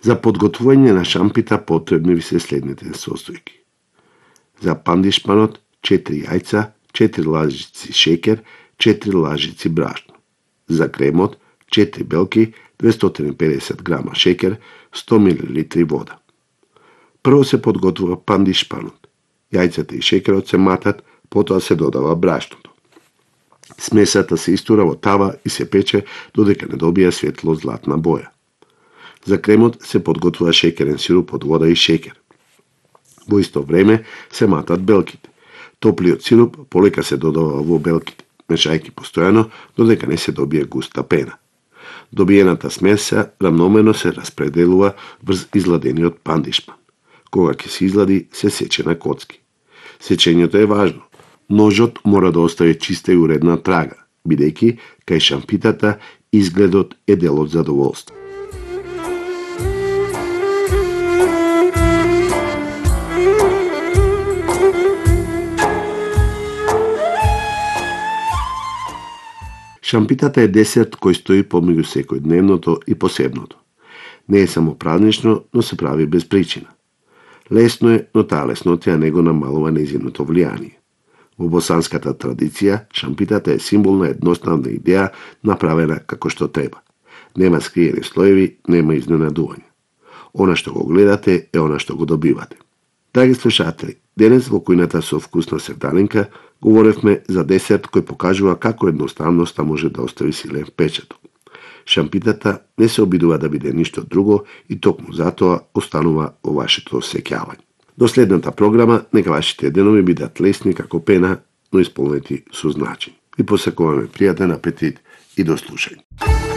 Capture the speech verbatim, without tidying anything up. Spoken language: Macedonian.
За подготвување на шампита потребни ви се следните состојки. За пандишпанот четири јајца, четири лажици шеќер, четири лажици брашно. За кремот четири белки, двестоин и педесет грама шеќер, сто милилитри вода. Прво се подготвува пандишпанот. Јајцата и шеќерот се матат, потоа се додава брашното. Смесата се истура во тава и се пече додека не добие светло златна боја. За кремот се подготвува шеќерен сируп од вода и шеќер. Во исто време се матат белките. Топлиот сируп полека се додава во белките, мешајќи постојано додека не се добие густа пена. Добиената смеса рамномерно се распределува врз изладениот пандишпан. Кога ќе се излади, се сече на коцки. Сечењето е важно. Ножот мора да остави чиста и уредна трага, бидејќи кај шампитата изгледот е дел од задоволство. Шампитата е десерт кој стои помеѓу секојдневното и посебното. Не е само празнично, но се прави без причина. Лесно е, но таа леснотија не го намалува нејзиното влијание. Во босанската традиција, шампитата е символ на едноставна идеја направена како што треба. Нема скриени слоеви, нема изненадување. Она што го гледате е она што го добивате. Драги слушатели, денес во кујната со вкусна севдалинка говоревме за десерт кој покажува како едноставноста може да остави силен впечаток. Шампитата не се обидува да биде ништо друго и токму затоа останува во вашето сеќавање. До следната програма, нека вашите денови бидат лесни како пена, но исполнети со значење. Ви посакуваме пријатен апетит и до слушање.